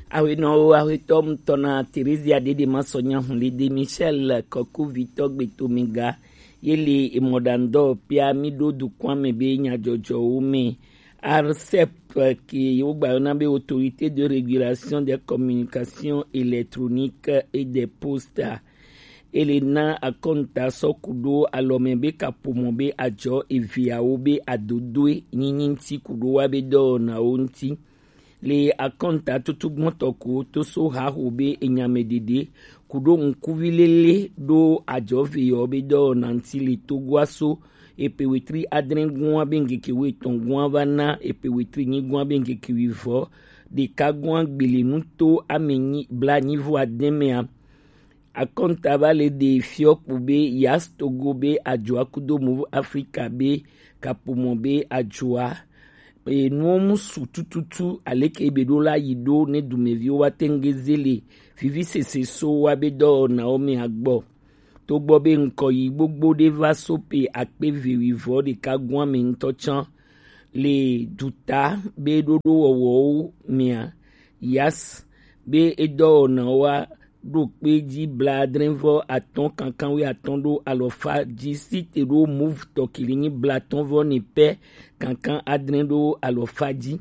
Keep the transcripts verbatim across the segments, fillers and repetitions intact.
Awenɔwo, awetɔ ŋutɔ na Theresia Dede Masɔnya Hunlede Michel Kɔkuvitɔ Gbetomiga. Ye le emɔɖaŋudɔwɔƒea mi ɖo dukɔa me be nyadzɔdzɔwo me. ARCEP, ke wogba yɔna be Autorité de Régulation des Communications Électroniques et des Postes, ele na akɔnta sɔ ku ɖo alɔme be kaƒomɔ be adzɔ eveawo be adodoe nyinyi ŋuti ku ɖo wa be dɔwɔnawo ŋuti. Le akɔnta tutu gbɔntɔ ko to so haho be enyame ɖeɖe ku ɖo ŋkuvi lele ɖo adzɔ ve yɔ be dɔwɔna ŋuti le Togoa so epe wetri adre gua be ŋkeke wetɔn gua va na epe wetri nyi gua be ŋkeke wivɔ ɖeka gua gbele nuto ame nyi bla nyi vɔ adre mea. Akɔnta va le ɖe fiɔ kpo be Yas Togo be adzɔa kudo Move Africa be kaƒomɔ be adzɔa. Enuwo mu su tututu aleke be ɖo la yi ɖo ne dumeviwo wa tengeze le vivi sese so wa be dɔwɔnawo me agbɔ. Togbɔ be ŋkɔ yi gbogbo ɖe va so pe akpe ve wivɔ ɖeka gua me ŋutɔ can le duta be ɖoɖo wɔwɔwo mea, Yas be edɔwɔnawoa ɖo kpe ji bla adre vɔ atɔ̃ kankan wi atɔ̃ ɖo alɔfa ji site ɖo Move tɔ kili nyi bla atɔ̃ vɔ ne pɛ kankan adre ɖo alɔfa ji.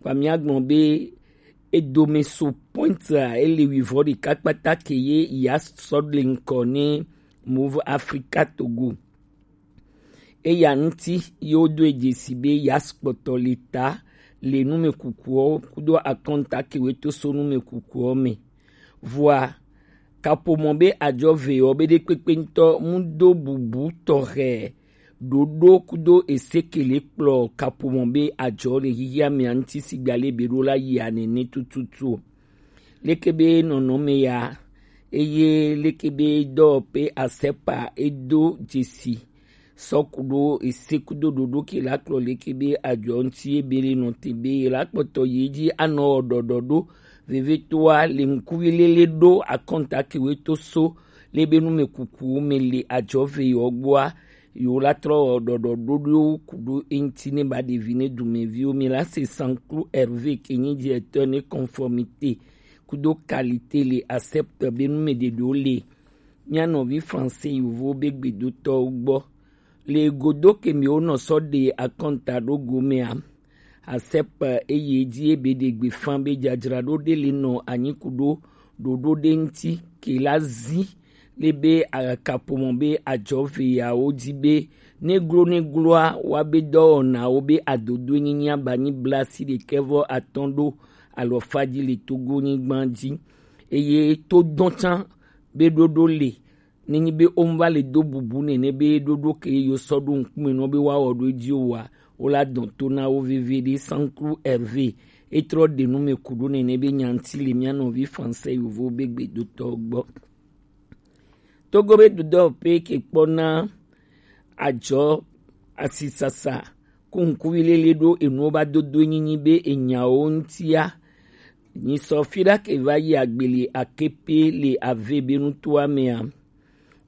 Kpa mia gblɔ be edome so point a ele wivɔ ɖeka kpata ke ye Yas sɔ le ŋkɔ ne Move Africa Togo. Eya ŋuti ye wodo dzesi be Yas kpɔtɔ le ta le numekukuwo kudo akɔnta kewe to so numekukuwo me. Vɔa kaƒomɔ be adzɔ ve yɔ be ɖekpekpe ŋutɔ mu do bubu tɔxɛ ɖoɖo kudo esekele kplɔ kaƒomɔ be adzɔ le hihia mea ŋuti sigba le be ɖo la yi anene tututu o. Leke be nɔnɔme ya eye leke be dɔwɔƒe asepa edo dzesi sɔ ku ɖo ese kudo ɖoɖo ke la kplɔ leke be adzɔ ŋuti ebe le nɔ te be la kpɔtɔ yi dzi anɔ wɔ ɖɔɖɔ ɖo vevetoa le ŋkuvi lele ɖo akɔnta kewe to so le be nume kuku me le adzɔ ve yɔ gbɔa yo la trɔ wɔ ɖɔɖɔ ɖoɖowo ku ɖo eŋti ne ba ɖevi ne dumeviwo mi la se Sanklu Hervé ke nyi directeur ne conformité kudo qualité le accepte be nume ɖeɖewo le mia nɔvi français yovo be gbedotɔwo gbɔ. Le godo ke mi wo nɔ sɔ ɖe akɔnta ɖo go mea, ARCEP eye dzi ebe ɖe gbe fan be dzadzraɖo ɖe le nɔ anyi ku ɖo ɖoɖo ɖe ŋti ke la zi le be akaƒomɔ be adzɔ ve yawo dzi be neglo negloa wa be dɔwɔnawo be adodoe nyinya ba nyi bla si ɖekɛ vɔ atɔ̃ ɖo alɔfa dzi le Togo nyigba dzi eye to dɔn can be ɖoɖo le nenyi be wo va le do bubu nene be ɖoɖo ke yo sɔ ɖo ŋkume nɔ be woawɔ ɖo edzi oa, wo la dɔn to na wo veve ɖe. Sanklu Hervé etrɔ ɖe nu me ku ɖo nene be nyanti le mia nɔvi français yovo be gbedotɔ gbɔ. Togo be dudɔ pe ke kpɔ na adzɔ asisasa ku ŋkuvi lele ɖo enuwo ba dodo nyinyi be enyawo ŋtia. Nyi sɔ fi ɖa ke va yi agbeli akepe le ave be nutoa mea.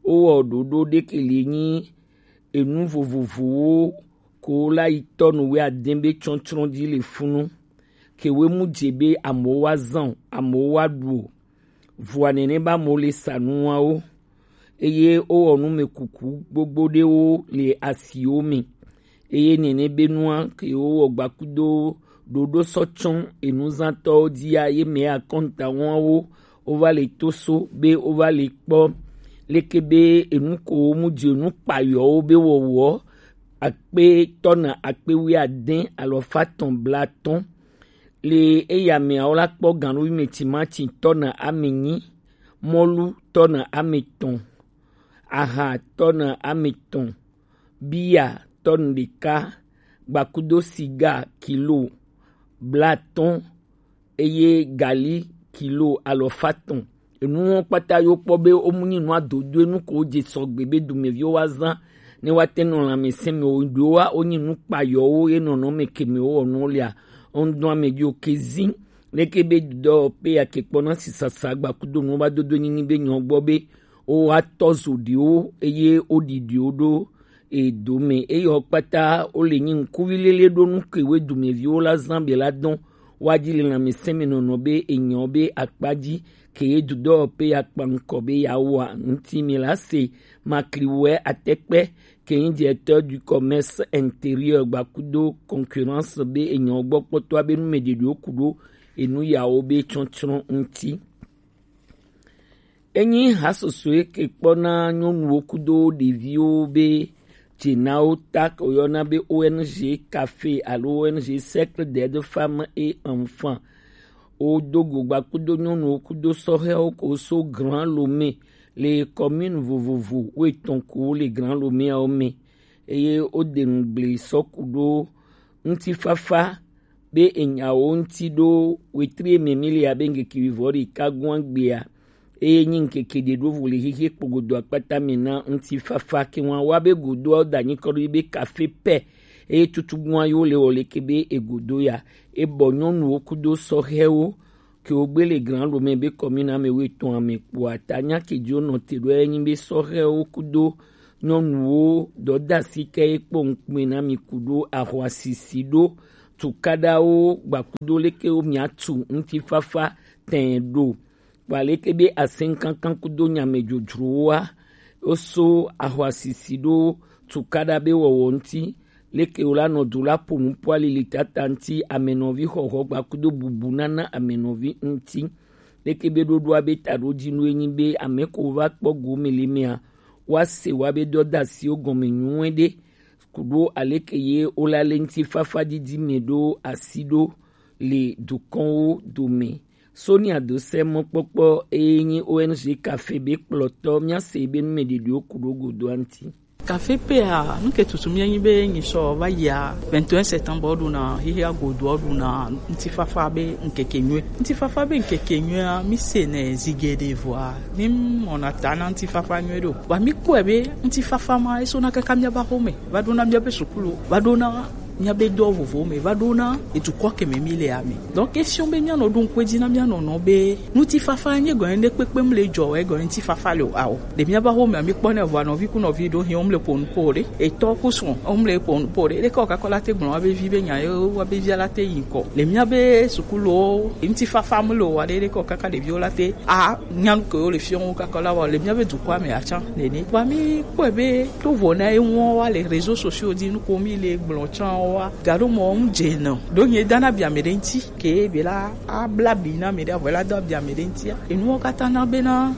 Wowɔ ɖoɖo ɖe ke li nyi enu vovovowo ko la yi tɔnu wɛ adɛn be tsɔtsrɔn dzi le funu. Ke wɛ mu dze be amewo wa zan o, amewo wa ɖu o. Vɔa nene ba mo le sa nuawo. Eye wowɔ nu me kuku gbogbo ɖewo le asiwo me. Eye nene be nua ke wowɔ gbakudo ɖoɖo sɔ tsɔn enuzãtɔwo dzia ye me akɔntawawo wova le to so be wova le kpɔ leke be enu ko mu dze nu kpayɔwo be wɔwɔ akpe tɔna akpe wuiadɛn alɔfa tɔn blatɔn. Le eya meawo la kpɔ ganuvi me timati tɔna ame nyi, mɔlu tɔna ame tɔn, aha tɔna ame tɔn, biya tɔnu ɖeka, gbakudo siga kilo blatɔn eye gali kilo alɔfa tɔn. Enuwo kpata yo kpɔ be wo mu nyi nu adodo enu ko wo dze sɔgbe be dumeviwo wa zan ne wa te nɔ lãmesẽ me o ɖewo wa wo nyi nu kpayɔwo ye nɔnɔ me ke me wo wɔ nuwo lea. Wo ŋdɔ ame ɖi o ke zin leke be dɔ pe ya ke kpɔ na sisasa gbakudo nuwo ba dodo nyinyi be nyɔ gbɔ be wo wa tɔ zo ɖiwo eye wo ɖi ɖiwo ɖo edo me eye wo kpata wo le nyi ŋkuvi lele ɖo nu ke we dumeviwo la zan be la dɔn Wa ji le lanmɛsɛnmɛnɔnɔ be enyɔ be akpa ji ke ye dudɔ pe ya kpa ŋkɔ be ya wa ŋuti mi la se Makliwɛ Atɛkpɛ ke nyi directeur du commerce intérieur gbakudo concurrence be enyɔ gbɔ kpɔtɔ be nu mɛ ɖeɖewo kudo enu yawo be tsɔtsrɔn ŋuti. Enyi hasoso ye ke kpɔna nyɔnuwo kudo ɖeviwo be dzenawo ta ke woyɔna be O N G Café alo O N G Cercle d'aide femmes et enfants. Wodo go gbakudo nyɔnuwo kudo sɔhɛwo ko so Grand Lomé le commune vovovo wo etɔn ko le Grand Lomé awo mɛ. Eye woɖe ŋugble sɔ kudo ŋutifafa be enyawo ŋuti ɖo wetri mɛ mi le abe ŋkeke wivɔ ɖeka gɔn gbea. Eye nyi ŋkeke ɖe ɖo vo le xexe kpogodo akpata mɛ na ŋutifafa ke wan wa be godoa da nyi kɔ ɖo be kafe pɛ. Eye tutugbua yo le wɔ leke be egodo ya. Ebɔ nyɔnuwo kudo sɔhɛwo ke wo gbe le Grand Lomé be commune ame wo etɔn ame kpoa ta nya ke dzo nɔ te ɖo enyi be sɔhɛwo kudo nyɔnuwo dɔdasi ke ye kpɔ ŋkpɛ na mi kudo ahwasisi ɖo tukaɖawo gbakudo leke wo mia tu ŋutifafa tɛn ɖo. Kpa leke be asɛnkankan kudo nyamɛdzodzrowoa, wo so ahwasisi ɖo tukaɖa be wɔwɔ ŋuti, leke wo la nɔ do la po nupo alili tata ŋuti amenɔvi xɔxɔ gbakudo bubu nana amenɔvi ŋuti. Leke be ɖoɖoa be taɖojinu enyi be ame ko va kpɔ gome le mea, wa se wa be dɔdasiwo gɔme nyuie ɖe kudo aleke ye wo la le ŋutifafa didi mɛ ɖo asi ɖo le dukɔnwo dome. Sonia do sɛ mɔkpɔkpɔ eye nyi O N G Café be kplɔtɔ mia se be nu mɛ ɖeɖewo kudo godoa ŋuti. Café pea, nu ke tutu mia nyi be nyi sɔ va yia vingt et un septembre ɖo na hihi agodo ɖo na ŋutifafa be ŋkeke nyuie. Ŋutifafa be ŋkeke nyuie a mi se ne zige ɖe vɔa. Mi mɔna ta na ŋutifafa nyuie ɖo. Wa mi kpɔe be ŋutifafa ma eso na kaka mia ba xome. Va ɖo na mia be sukulu. Va ɖo na míabe dɔ vovowo me va ɖo na edukɔ ke me mi le ame. Donc question be míanɔ ɖo ŋkpe dzi na míanɔ nɔ be ŋutifafa nye gɔnye ɖe kpekpe mu le dzɔ wɛ gɔnye ŋutifafa le o ao. Ɖe míaba xo me mi kpɔ ne vɔ nɔvi ku nɔvi ɖo hin wo mu le ƒo nu po ɖe. Etɔ ku srɔ̃ wo mu le ƒo nu po ɖe. Ɖe kɔ kakɔ la te gblɔ wa be vi be nya ye wa be via la te yi ŋkɔ. Le míabe sukulu wo ŋutifafa mu le o wa ɖe ɖe kɔ kaka ɖeviwo la te a nya nu ke wo le fiɔ wo kakɔ la wa le míabe dukɔa me atsã nene. Wa mi kpɔe be to vɔ na ye ŋua wa le réseaux sociaux dzi nu ko mi le gblɔ tsã wa. Gaɖo mɔ ŋu dze nɔ. Ɖo nye dana bia me ɖe ŋuti. Ke be la abla bi na me ɖe avɔ la do bia me ɖe ŋutia. Enuwo katã na bena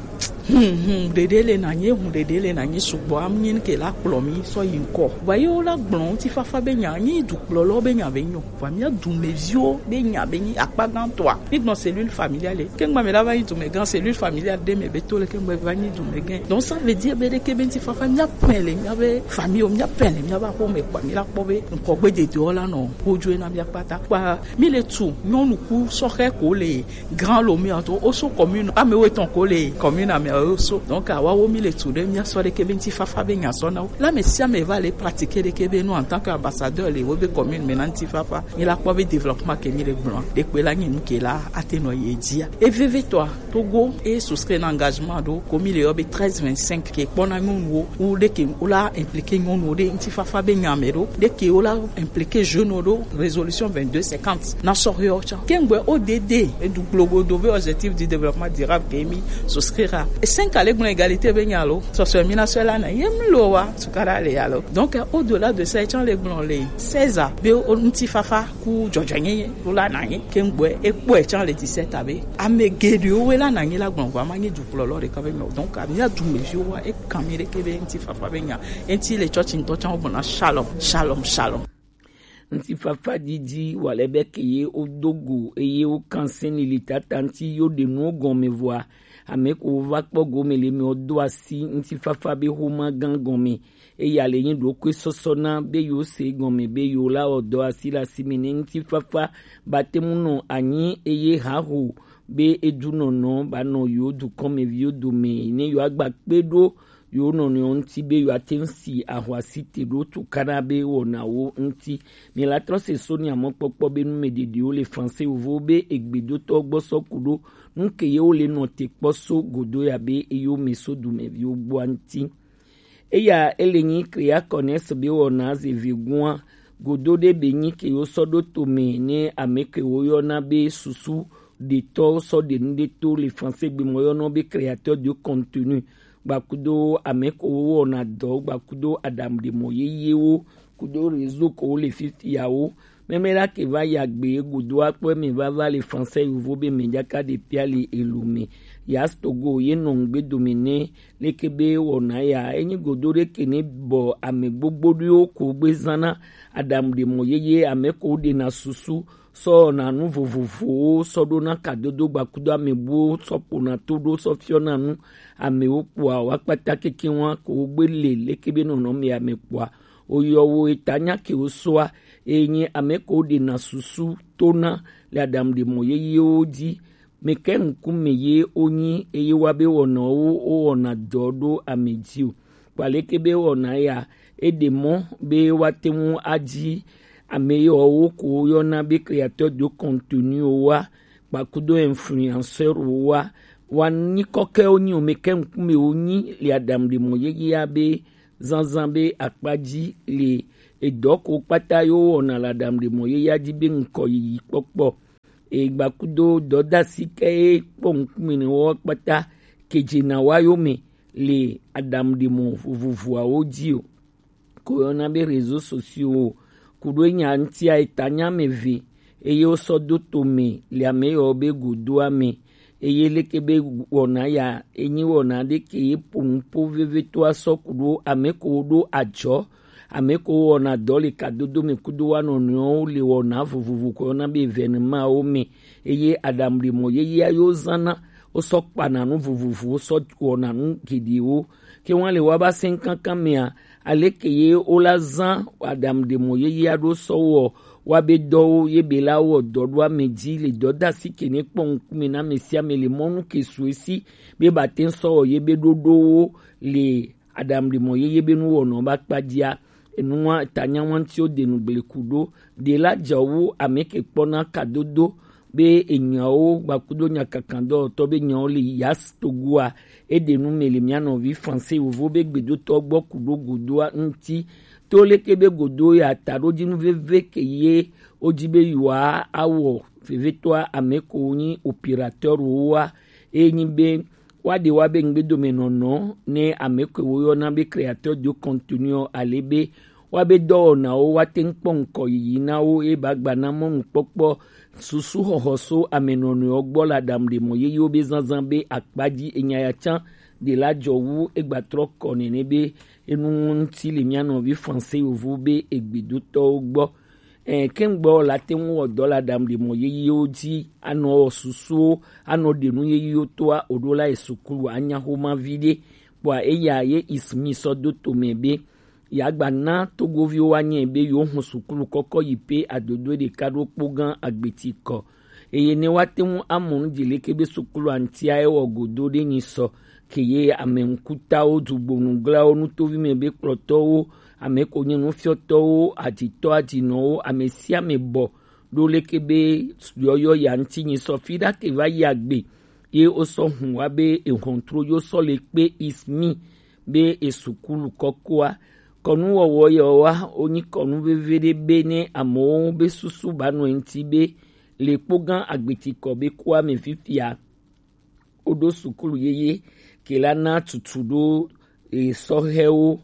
hmm hmm ɖeɖe le na nye hmm ɖeɖe le na nye sugbɔ am nyi ke la kplɔ mi sɔ yi ŋkɔ. Wa ye wo la gblɔ ŋutifafa be nya nyi dukplɔlɔ be nya be nyo. Wa mia dumeviwo be nya be nyi akpa gãtɔa. Mi gbɔn cellule familiale. Ke ŋgba me la va nyi dumegã cellule familiale ɖe me be to le ke ŋgba va nyi dumegã. Donc ça veut dire be ɖeke be ŋutifafa mia pɛ le mia be famille mia pɛ le mia ba xo me kpa mi la kpɔ be ŋkɔgbe dedewo la nɔ wodzɔe na mia kpata. Kpa mi le tu nyɔnu ku sɔhɛ ko le Grand Lomé ato oso commune ame wo etɔn ko le commune ame oso. Donc awa wo mi le tu ɖe mia sɔ ɖeke be ŋutifafa be nya sɔ na wo. La me sia me va le pratiquer ɖeke be nu en tant que ambassadeur le wo be commune me na ŋutifafa. Mi la kpɔ be développement ke mi le gblɔ. Ɖekpe la nyi nu ke la ate nɔ ye dzia. E veve tɔa. Togo e souscrit na engagement ɖo ko mi le yɔ be treize vingt-cinq ke kpɔna nyɔnuwo wo ɖe ke wo la impliquer nyɔnuwo ɖe ŋutifafa be nya me ɖo ɖe ke wo la impliquer jeune wo ɖo résolution vingt-deux cinquante na sɔhɛwo tsã. Ke ŋgbɛ o D D e du gblogodo be objectif du développement durable ke mi souscrire a. E cinq ale gblɔ égalité be nya lo sɔsɔe mi na sɔe la na ye mlo wa tukaɖa le ya lo. Donc au-delà de ça etsã le gblɔ le seize a be o ŋutifafa ku dzɔdzɔenyenye ɖo la na anyi ke ŋgbɔe ekpɔe tsã le dix-sept abe ame geɖewo woe la na anyi la gblɔ vɔ ama nye dukplɔlɔ ɖeka be mɛ. Donc amia dumeviwo wa ekan mi ɖeke be ŋutifafa be nya eŋti le tsɔtsi ŋutɔ tsã wo gbɔna shalom shalom shalom. Ŋutifafa didi wale be ke ye wo do go eye wo kan sɛni li tata ŋti yo ɖe nuwo gɔme vɔa ame ko va kpɔ gome le mɛ wo do asi ŋutifafa be xoma gã gɔme. Eya le nyi ɖokui sɔsɔ na be yewo se gɔme be yewo la wɔ dɔ asi le asi me ne ŋutifafa ba te mu nɔ anyi eye haho be edunɔnɔ ba nɔ yewo dukɔmeviwo dome ne yewo agba kpe ɖo yewo nɔnɔewo ŋuti be yewo ate ŋu si ahwasi te ɖo tukaɖa be wɔnawo ŋuti. Mi la trɔ se so nya mɔkpɔkpɔ be numeɖeɖewo le français wovo be egbedotɔ gbɔ sɔ ku ɖo nu ke yewo le nɔ te kpɔ so godo ya be eyo me so dumeviwo gbɔa ŋuti. Eya ele nyi Kriakɔnɛs be wɔna zevi gua Godo ɖe be nyi ke wo sɔ ɖo to mɛ ne ame ke wo yɔna be susu ɖetɔ sɔ ɖe nu ɖe to le français gbe mɔ yɔnɔ be créateur de contenu. Gbakudo ame ko wo wɔna dɔ, gbakudo aɖaŋuɖemɔ yeyewo, kudo réseau ko wo le fifiawo. Mɛmɛ la ke va yi agbe godo akpɔ eme vava le français yovo be mɛ jaka ɖe pia le elo mɛ. Yas Togo ye nɔ ŋgbe dome nɛ leke be wɔna ya. Enyi godo ɖe ke ne bɔ ame gbogbo ɖewo ko gbe zana aɖaŋuɖemɔ yeye ame ko ɖena susu sɔ wɔna nu vovovowo sɔ ɖona kadodo gbakudo ame buwo sɔ ƒona to ɖo sɔ fiɔna nu amewo kpɔa wa kpata keke wa ko wo gbe le leke be nɔnɔme ame kpɔa. Oyɔ wo eta nya ke wo sɔa, eye nye ame ko ɖena susu tona le aɖaŋuɖemɔ yeyewo dzi. Meke ŋkume ye wonyi eye wa be wɔnawo wowɔna dɔ ɖo ame dzi o. Kpaleke be wɔna ya, eɖe mɔ be woate ŋu adzi ame yawo ko woyɔna be créateur de contenu wa, kpakudo influenceur wa, wa nyikɔ ke wonyi o, meke ŋkume wonyi le aɖaŋuɖemɔ yeyea be zanzan be akpa dzi le edɔ ko kpata yo wɔna le aɖaŋuɖemɔ yeyea dzi be ŋkɔ yiyi kpɔkpɔ. Egbakudo dɔdasi ke ye kpɔ ŋkume ne wɔ kpata kedze na wa yo me le aɖaŋuɖemɔ vovovoawo dzi o. Ko yɔna be réseaux sociaux o. Kuɖo enya ŋutia eta nya me ve eye wosɔ do to me le ame yawo be godoa me. Eye leke be wɔna ya enyi wɔna ɖe ke ye ƒo nu ƒo vevitɔa sɔ kuɖo ame ko ɖo adzɔ, ame ko wɔna dɔ le kadodo me kudo wa nɔnɔewo le wɔna vovovo ko yɔna be événement wo me. Eye aɖaŋuɖemɔ yeyea yo zana wosɔ kpana nu vovovowo sɔ wɔna nu geɖewo. Ke wa le wa ba sɛn kankan mea, aleke ye wola zã aɖaŋuɖemɔ yeyea ɖo sɔ wɔ wa be dɔwo ye be la wɔ dɔ ɖo ame dzi le dɔdasi ke ne kpɔ ŋkume na ame sia ame le mɔnu ke su esi be ba te sɔ wɔ ye be ɖoɖowo le aɖaŋuɖemɔ yeye be nuwɔnɔ ba kpa dzia. Enua tanya wa ŋuti wo de nu gble ku ɖo ɖe la dze wu ame ke kpɔna kadodo be enyawo gbakudo nyakakandɔwɔtɔ be nyawo le Yas Togoa. Eɖe nu me le mia nɔvi français yovo be gbedotɔ gbɔ ku ɖo godoa ŋuti. To leke be godo ya taɖodzinu veve ke ye wodzi be yewoa awɔ vevitɔa ame ko nyi opérateur woa, eye nyi be woaɖe wa be ŋgbedomenɔnɔ ne ame ke woyɔna be créateur de contenu ale be woabe dɔwɔnawo woate ŋu kpɔ ŋkɔ yiyi na wo eye ba gba na mɔnukpɔkpɔ susu xɔxɔ so ame nɔnɔewo gbɔ le aɖaŋuɖemɔ yeyewo be zazã be akpa dzi enya ya tsã ɖe la dzɔ wu egbatrɔ kɔ nene be enu ŋuti le mia nɔvi français yovo be egbedotɔwo gbɔ. Ɛ, kɛŋgbɔ la te ŋu wɔ dɔ le aɖaŋuɖemɔ yeyewo dzi, anɔ wɔ susuwo, anɔ ɖe nu yeyewo toa oɖo la yi sukulu anya xoma vi ɖe. Kpɔa eya ye Ismi sɔ do to mɛ be yeagba na togoviwo woanyɛ be yewo hun sukulu kɔkɔ yi pe adodoe ɖeka ɖo kpo gã agbeti kɔ. Eye ne woate ŋu amɔ nu dzi leke be sukulu aŋtia ewɔ godo ɖe nyi sɔ ke ye ame ŋkutawo, dugbonuglawo, nutovime be kplɔtɔwo, ame ko nye nufiɔtɔwo, adzitɔ adzinɔwo, ame sia ame bɔ ɖo leke be yɔyɔ ya ŋuti nyi sɔ fi ɖa ke va yi agbe ye wosɔ hun wa be ehɔntro yo sɔ le kpe Ismi be esukulu kɔkɔa. Kɔnuwɔwɔ yawoa wonyi kɔnu veve ɖe be ne amewo be susu ba nɔ eŋuti be le kpo gã agbetikɔ be kua me fifia. Woɖo sukulu yeye ke la na tutu ɖo esɔhɛwo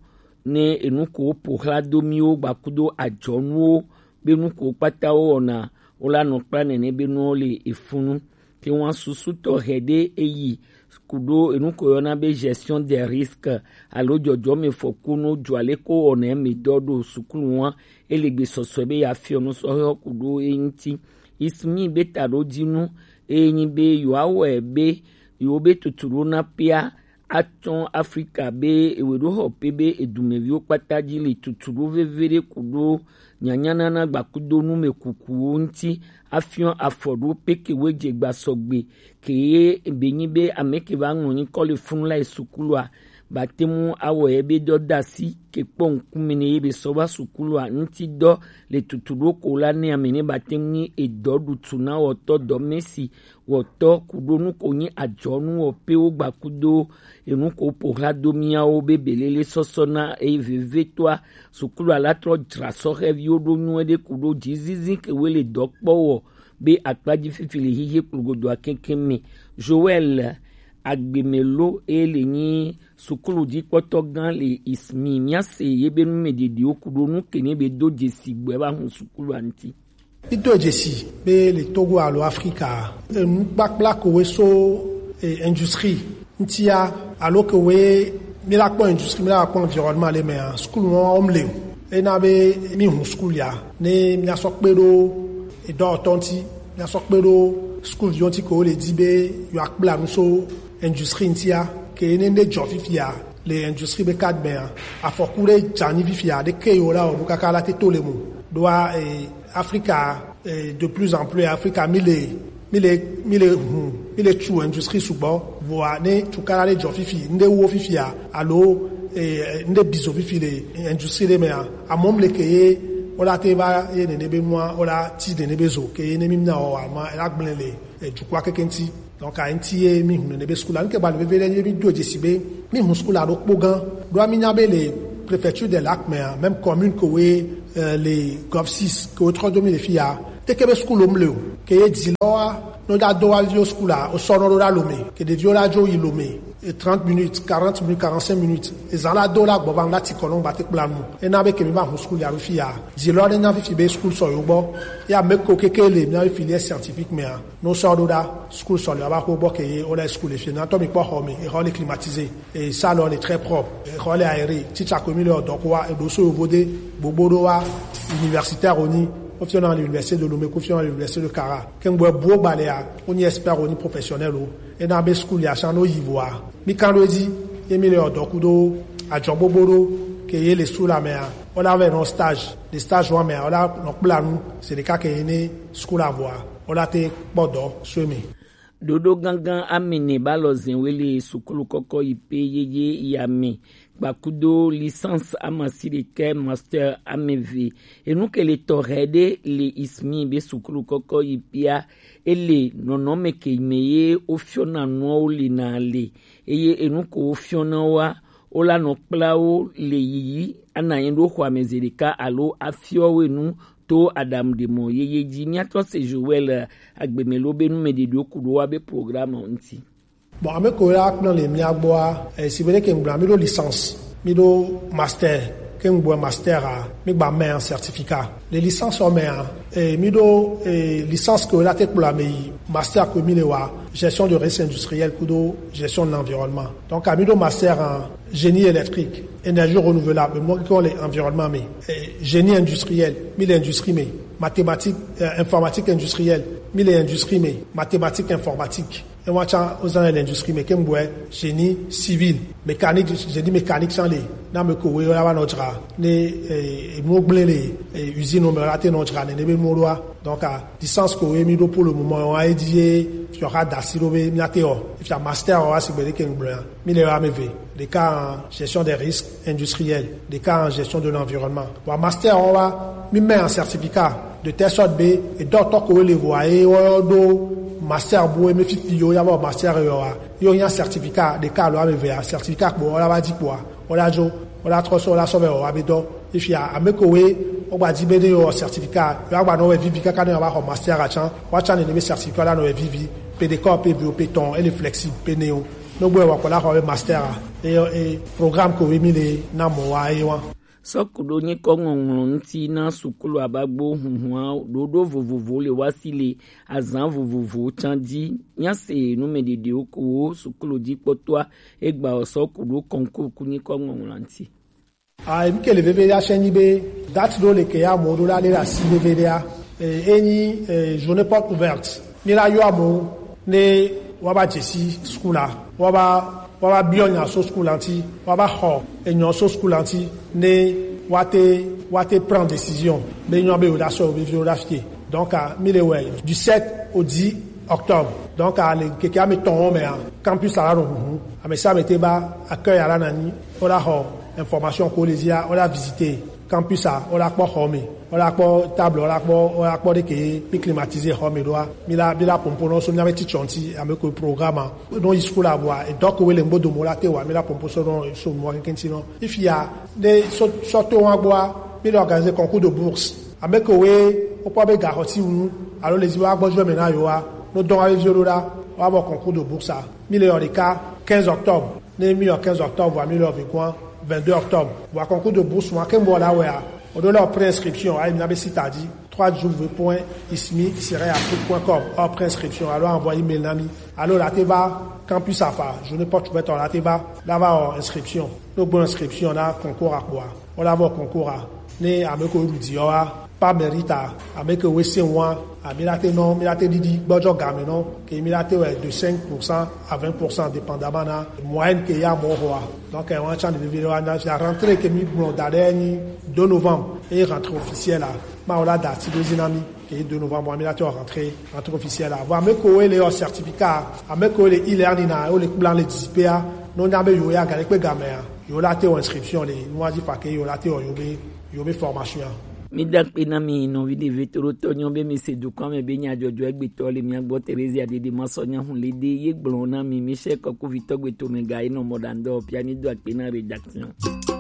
ne enu ko woƒo xla do miwo gbakudo adzɔnuwo be nu ko kpata wowɔna wola nɔ kpla nene be nuwo le efunu. Ke wa susu tɔxɛ ɖe eyi kuɖo enu ko yɔna be gestion des risques alo dzɔdzɔme fɔkunuwo dzɔ ale ko wɔna eme dɔ ɖo sukulu wa ele gbesɔsɔ be yeafiɔ nu sɔhɛ kuɖo eŋuti. Ismi be taɖodzinu eye nyi be yewoawɔe be yewo be tutu ɖo na pea atsɔ Afrika be ewe ɖo xɔ pe be edumeviwo kpata dzi le tutu ɖo veve ɖe ku ɖo nyanyanana gbakudonu me kukuwo ŋuti afiɔ afɔ ɖo pe ke wo dze gba sɔgbe ke ye be nyi be ame ke va ŋlɔ nyikɔ le funu la yi sukulua ba tɛnŋ awɔ yɛ be dɔ dasi ke kpɔ ŋkumɛ nɛ ye be sɔ wa sukulu a ŋti dɔ le tutu ɖo ko la nɛ amɛ nɛ ba tɛnŋ nyi edɔ ɖutu na wɔtɔ dɔ mɛsi wɔtɔ kuɖo nu ko nyi ajɔnu wɔ pe wo gba kudo enu ko po hla do miawo be belele sɔsɔ na eye veve toa sukulu a la trɔ dzra sɔhɛviwo ɖo nyuie ɖe kuɖo dzizizi ke wo le dɔ kpɔ wɔ be akpaji fifi le hihi kplogodo akɛnkɛn mɛ. Joel Agbemelo e le nyi sukulu jikpɔtɔ gan le ismi miase ye be nu mɛ ɖeɖewo kuɖo nu ke nɛ be do dzesi gbɛ ba hun sukulu a ŋti. Mito dzesi be le Togo alo Afrika, enukpakpla ko we so e, industrie ŋtia alo ke we mi la kpɔ industrie mi la kpɔ environnement le mɛa sukulu wɔn wɔm le o. Ena be mi hun sukulu ya ne mi asɔ kpe ɖo edɔwɔtɔ ŋti mi asɔ kpe ɖo sukulu viwo ŋti ke wo le di be yewo akpla nu so industrie ŋtia ke ne ne dzɔ fifia le industrie be cadre mɛa afɔku ɖe dzanyi fifia ɖe ke yewo la wɔ ɖo kaka la te to le mo ɖoa e, Afrika e, de plus en plus Afrika mi le mi le mi le hun mi le tu industrie sugbɔ voa ne tukala ɖe dzɔ fifi ŋɖe wo fifia alo e, ŋɖe bizo fifi le industrie ɖe mɛa amɔ mi le ke ye wola te va ye nene be nua wola ti nene be zo ke ye ne mi mina wɔ wa ma ela gblẽ le e, dukua keke ŋti. Donc a ŋti ye mi hun nene be sukulu a ŋke ba le veve ɖe ye mi do dzesi be mi hun sukulu a ɖo kpo gan ɖo mi nya be le préfecture de lac mɛa même commune ke we e, le gov six ke wo trɔ do mi le fia teke be sukulu mi le o ke ye di lɔ wa no da do wa vio sukulu a o sɔ no ɖo ɖa lome ke ɖeviwo la dzo yi lome e trente minutes, quarante minutes, quarante-cinq minutes ezan la do la gbɔ va ŋu la ti kɔ nɔ ŋu ba te kpla nu ena be ke mi ba hun sukulu ya ɖo fia di lɔ ne nya fifi be sukulu sɔ yo gbɔ ya me ko keke le mi na be filière scientifique mɛa no sɔ ɖo ɖa sukulu sɔ le wa ba ko gbɔ ke ye o la sukulu le fie na tɔ mi kpɔ xɔ mi e xɔ le climatisé e salon le très propre e xɔ le aéré titsa ko mi le ɔdɔ ko wa e ɖo so yovo de gbogbo ɖo wa universitaire oni ko fiɔ na l'université de Lomé ko fiɔ na l'université de Kara ke ŋgbɔ buo gba le ya o nyi expert o nyi professionnel o ena be sukulu ya san no yi voa mi kan ɖo edzi ye mi le ɔdɔ kudo adzɔ gbogbo ɖo ke ye le sukulu amɛa o la vɛ nɔ stage le stage wa mɛa o la nɔ kpla nu se ɖeka ke ye ne sukulu avoa o la te kpɔ dɔ so emi. Ɖoɖo gangan amene ba lɔ zɛn we le sukulu kɔkɔ yi pe yeye ya mɛ gbakudo licence amasi ɖekɛ master ameve enu ke le tɔxɛ ɖe le ismi be sukulu kɔkɔ yi pia ele nɔnɔme ke me ye wo fiɔna nuawo le na le eye enu ko wo fiɔna wa wo la nɔ kpla wo le yiyi ana anyi ɖo xɔ ame ze ɖeka alo afiɔ wo enu to aɖaŋuɖemɔ yeye ji. Míatrɔ se Joel Agbemelo be numɛɖeɖewo ku ɖo wa be programme ŋuti. Bon, ame ko la kplɔ le mia gbɔa, eh, si be ɖe ke ŋgblɔ, mi ɖo licence, mi ɖo master, ke ŋgblɔ master a, mi gba mɛ certificat. Le licence o mɛ a, eh, mi ɖo, eh, licence ko la te kplɔ ame yi, master ko mi le wa, gestion de risque industriel kudo gestion de l'environnement. Donc, a mi ɖo master en génie électrique, énergie renouvelable, mo ki ko le environnement mi, eh, génie industriel, mi le industrie mi, mathématique, euh, informatique industrielle, mi le industrie mi, mathématique informatique. E wa tsa o zan le industrie mi, ke ŋgblɔ génie civil, mécanique, génie mécanique tsa le, na me ko we la wa nɔ dzra, ne, eh, mo gble le, eh, usine o me la te nɔ dzra, ne, ne be mo ɖoa. Donc, a, licence ko we mi ɖo pour le moment, wa e di ye, tu auras dasi ɖo be, mi a te o. Et puis, a master, wa si be de ke ŋgblɔ ya. Mi le wa me ve. Ɖeka en gestion des risques industriels, ɖeka en gestion de l'environnement. Wa master wa, mi mɛ en certificat, de telle sorte be, e dɔtɔ ko we le vo a ye, wo ɖo master bu, e me fifi yo, ya wa master yo wa. Yo nya certificat, ɖeka lo wa me ve a, certificat ko wa la wa di ko wa. Wo la dzo, wo la trɔ so, wo la sɔ vɛ wo wa be dɔ. Efia, ame ko we, wo gba di be ne yo certificat, yo gba nɔ wɛ vivi kaka ne yo ba xɔ master a tsan, wa tsan ne be certificat la nɔ wɛ vivi, pe de kɔ pe vi o pe tɔn, ele flexible pe ne o. No gbe wa ko la xɔ be master a, e, e, programme ko we mi le na mɔ wa e wa. Sɔkuɖo nyikɔ ŋɔŋlɔ ŋuti na sukulu abagbo hunhun ɖoɖo vovovo le wa si le azan vovovo tsan ji. Nya se numɛɖeɖewo ko wo sukulu ji kpɔtɔa egba o sɔ ku ɖo concours ku nyikɔ ŋɔŋlɔ ŋuti. A, emi ke le veve ya sɛ nyi be date ɖo le ke ya mo ɖo la le la si veve ɖe ya. E, e nyi, e, journée porte ouverte. Mi la yɔ amo ne wa ba dzesi sukulu la, wa ba, wa ba biɔ nya so sukulu la ŋti, wa ba xɔ enyɔ so sukulu la ŋti, ne wa te, wa te prend décision be nyɔ be wo da sɔ wo viviwo da fie. Donc, a, mi le wɛ du sept au dix Octobre. Donc, ale keke ame tɔn mea, campus la nɔ huhu. Ame sia ame te va accueil la na ni, o la xɔ information ko le zia, o la visiter campus a, o la kpɔ xɔ me, o la kpɔ table, o la kpɔ, o la kpɔ ɖe ke mi climatiser xɔ me ɖoa. Mi la, mi la pompo nɔ so mi ame ti tsɔnti, ame ko programme a. No yi school a bua, e dɔk we le ŋgbo domo la te wa, mi la pompo so nɔ, so nɔ kɛnkɛnti nɔ. Ifia, ne so, so to wa gbɔa, mi le organiser concours de bourse. Ame ke woe wokpɔ be gaxɔti ŋu alo le zi woagbɔ dzɔ me na yewoa, no dɔn wa veviwo ɖo ɖa, woavɔ concours de bourse a. Mi le yɔ ɖeka quinze octobre, ne mi yɔ quinze octobre vɔa mi le yɔ vegoa vingt-deux octobre. Vɔa concours de bourse ma ke ŋbɔ la wɛa, o ɖo la o pré-inscription ayi mi na be site a dzi trois w point ismi tiret afrique point com, o pré-inscription alo envoyer email na mi, alo la te va campus afa journée porte ouverte la te va la va o inscription. No gbɔ inscription na concours a kpoa, o la vɔ concours a. Ne ame ko ɖu di yɔ wa, par mérite a, ame ke woe se wa, ami la te nɔ, mi la te ɖiɖi gbɔdzɔ game nɔ, ke mi la te wɛ de cinq pour cent à vingt pour cent dépendamment na moyenne ke ya mɔ xɔa. Donc, eh, wan tsan de vivi wa na fia rentrée ke mi gblɔ da ɖe ni deux novembre, et rentrée officielle a, ma o la da ti do zi na mi, ke deux novembre, mi la te rentrée, rentrée officielle a. Bon, ame ko woe le yɔ certificat, ame ko woe le e-learning a, o le kplan le dizipea, no nya be yo ya ga le kpe game a, yo la te o inscription le, no wa dzi fa ke yo la te o yo be yo be formation. Mi da kpe na mi nɔvi ɖevi toɖotɔ nyɔ be mi se dukɔa me be nya dzɔdzɔ egbetɔ le mia gbɔ Terezia Dede ma sɔ nya hu le de ye gblɔ na mi mi se kɔkuvitɔ gbeto me ga enɔ mɔ ɖa ŋdɔ pia mi do akpe na rédaction.